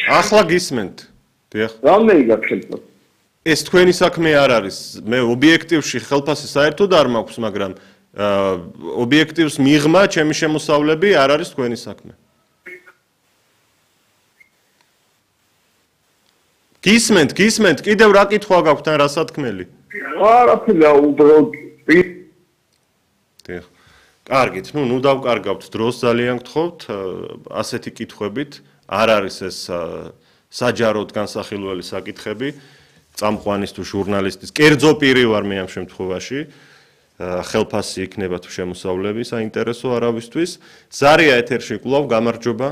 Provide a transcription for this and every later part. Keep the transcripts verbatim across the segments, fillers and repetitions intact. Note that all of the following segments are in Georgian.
ახლა გისმენთ. დიახ. რამდენი გაქვს? ეს თქვენი საქმე არ არის. მე ობიექტივში ხელფასი საერთოდ არ მაქვს, მაგრამ ობიექტივს მიღმა ჩემი შემოსავლები არ არის თქვენი საქმე. გისმენთ, გისმენთ, კიდევ რა კითხვა გაქვთ ან რა სათქმელი? არაფერია, უბრალოდ დიახ. კარგით, ნუ ნუ დავკარგავთ დროს ძალიან გთხოვთ, ასეთი კითხვებით არ არის ეს საჯაროდ განსახილველი საკითხები, წამყვანის თუ ჟურნალისტის, კერძო პირი ვარ მე ამ შემთხვევაში, ხელფასი იქნება თუ შემოსავლები, საინტერესო არავისთვის. ზარია ეთერში კვლავ გამარჯობა.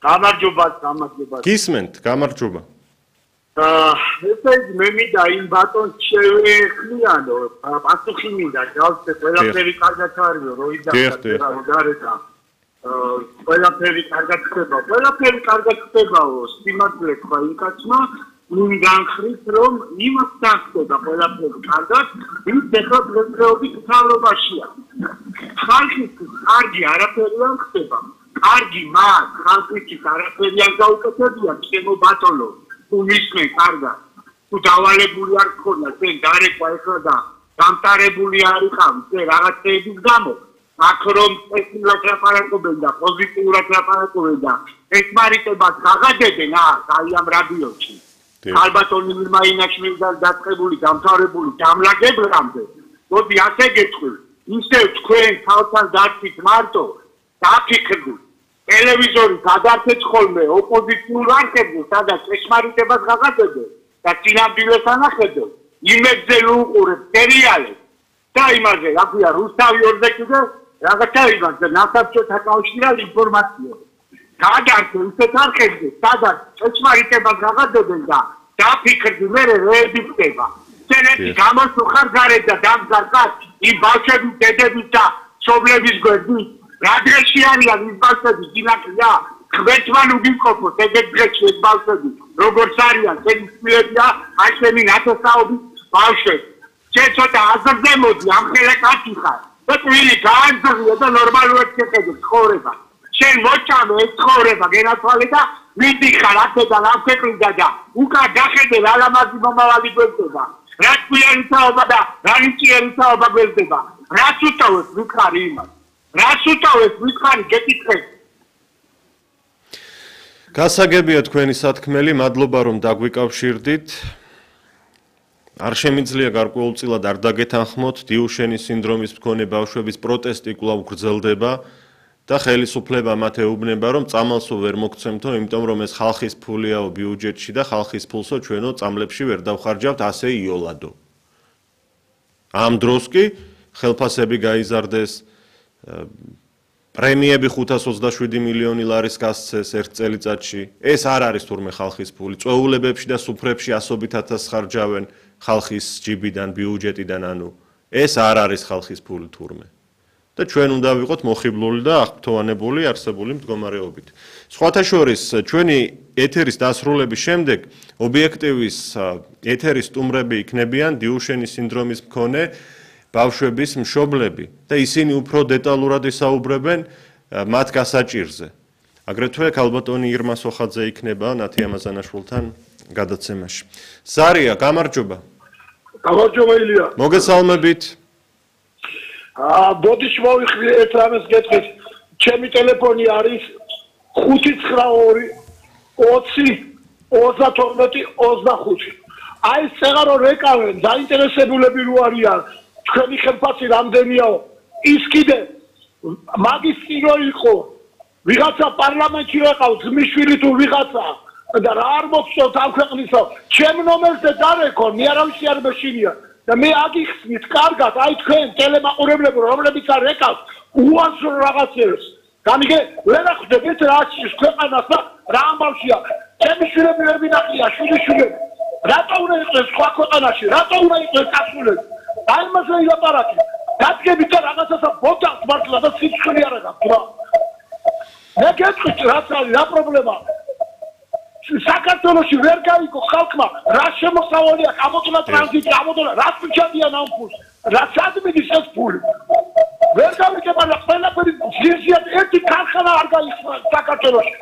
გამარჯობა, გამარჯობა. გისმენთ, გამარჯობა. აა, ესე იგი მე მინდა იმ ბატონს შევეხმიანო, პასუხი მინდა, გავცე ყველაფერი კარგად არისო, როიდან გარეთ. აა, ყველაფერი კარგად ხდება, ყველაფერი კარგად ხდებაო, სიმართლე თქვა იმ კაცმა, ნუ განხრით რომ იმას დახტება ყველაფერი კარგად, ის ახლა დღესდღეობით მთავრობაშია. ხალხის კარგი არაფერი არ ხდება. კარგი მას, ხალხის არაფერი არ გაუკეთებია, ჩემო ბატონო. თუ მისმენ კარგად, თუ დავალებული არ გქონდა, შენ გარეკვა ეხლა და დამტარებული არ იყავი, შენ რაღაცეების გამო, აქ რომ პესიმურად ლაპარაკობენ და პოზიტიურად ლაპარაკობენ და ეხმარიტებას გაღადებენ აი ამ რადიოში. ალბათონი მირმაინაჩმი და დაწყებული, დამთავრებული, დამლაგებლამდე, მოდი ასე გეტყვი, ისევ თქვენ თავთან დარჩით მარტო, დაფიქრდით. ტელევიზორი გადარჩეთ ხოლმე ოპოზიციურ არხებზე, სადაც ეხმარიტებას გაღადებენ და წინამძღოლს ანახებენ. იმედზე უყურებთ სერიალებს და იმაზე, რა ქვია, რუსთავი ორზე კიდე რაღაცა იმაზე, ნასაბჭოთა კავშირთან ინფორმაცია. გადარჩეთ ისეთ არხებზე, სადაც ეხმარიტებას გაღადებენ და დაფიქრდი, მე რეები ხდება. შენეთი გამოსუხარ გარეთ და დამგარკა იმ ბავშვების დედების და სობლების გვერდით. რა დღეში არიან ის ბავშვები, ძინაკია, ხვეთმან უგიმყოფოთ ეგეთ დღეში ეს ბავშვები, როგორც არიან, შენი შვილებია, აი შენი ნათესაობის ბავშვები. შენ ცოტა აზრზე მოდი, ამხელა კაცი ხარ. და twili გაანძღია და ნორმალურად შეხედე ცხოვრება. შენ მოჭამე ეს ცხოვრება, გენათვალე და მიდიხარ აქედან ამფეკლიდა და უკან გახედე რა ლამაზი მომავალი გვერდება. რა twili თაობა და რა ნიჭიერი თაობა გვერდება. რაც უტოვებს ვიქარი იმას. რას უტოვებს ვიქარი გეკითხეთ. გასაგებია თქვენი სათქმელი, მადლობა რომ დაგვიკავშირდით. არ შემიძლია გარკვეულწილად არ დაგეთანხმოთ, დიუშენის სინდრომის მქონე ბავშვების პროტესტი კვლავ გრძელდება და ხელისუფლება მათ ეუბნება, რომ წამალსო ვერ მოგცემთო, იმიტომ რომ ეს ხალხის ფულიაო ბიუჯეტში და ხალხის ფულსო ჩვენო წამლებში ვერ დავხარჯავთ ასე იოლადო. ამ დროს კი ხელფასები გაიზარდეს, პრემიები ხუთას ოცდაშვიდი მილიონი ლარის გასცეს ერთ წელიწადში. ეს არ არის თურმე ხალხის ფული. წვეულებებში და სუფრებში ასობით ათასს ხარჯავენ ხალხის ჯიბიდან, ბიუჯეტიდან, ანუ ეს არ არის ხალხის ფული თურმე. და ჩვენ უნდა ვიყოთ მოხიბლული და აღფრთოვანებული არსებული მდგომარეობით. სხვათა შორის, ჩვენი ეთერის დასრულების შემდეგ ობიექტივის ეთერის სტუმრები იქნებიან დიუშენის სინდრომის მქონე ბავშვების მშობლები და ისინი უფრო დეტალურად ისაუბრებენ მათ გასაჭირზე. აგრეთვე ქალბატონი ირმა სოხაძე იქნება ნათი ამაზანაშვილთან გადაცემაში. ზარია, გამარჯობა. გამარჯობა ილია. მოგესალმებით. აა, ბოდიში მოვიხდი ერთ რამეს გეტყვით. ჩემი ტელეფონი არის ხუთი ცხრა ორი ოცი ოცდათორმეტი ოცდახუთი. აი ეს წეღარო რეკავენ, დაინტერესებულები რო არიან. თქვენი ხელფასი რამდენიაო? ის კიდე მაგისტრო იყო. ვიღაცა პარლამენტში ეყავს, ძმისშვილი თუ ვიღაცა და რა არ მოგწონთ ამ ქვეყნისო, ჩემ ნომერზე დარეკო, მე არავისი არ მეშინია. და მე აგიხსნით კარგად, აი თქვენ ტელემაყურებლებო, რომლებიც არ ეკავს, უაზრო რაღაცებს. გამიგე, ვერ ახვდებით რა არის ქვეყანას და რა ამბავშია. ჩემი შვილები ვერ მინახია, შვილიშვილები. რატო უნდა იყოს სხვა ქვეყანაში? რატო უნდა იყოს კაცულები? აი მასე ილაპარაკი. დადგებით და რაღაცასა ბოდავს მართლა და სიცხლე არ აქვს რა. მე გეტყვით რაც არის, რა პრობლემაა? საქართველოში ვერ გაიგო ხალხმა რა შემოსავალია, გამოდლა ტრანზიტი, გამოდლა რა ფიჩადიან ამ ფულს. რა სადმიდის ეს ფული? ვერ გავიგებ არა ყველაფერი ზირზიად ერთი ქარხანა არ გაიხსნა საქართველოში.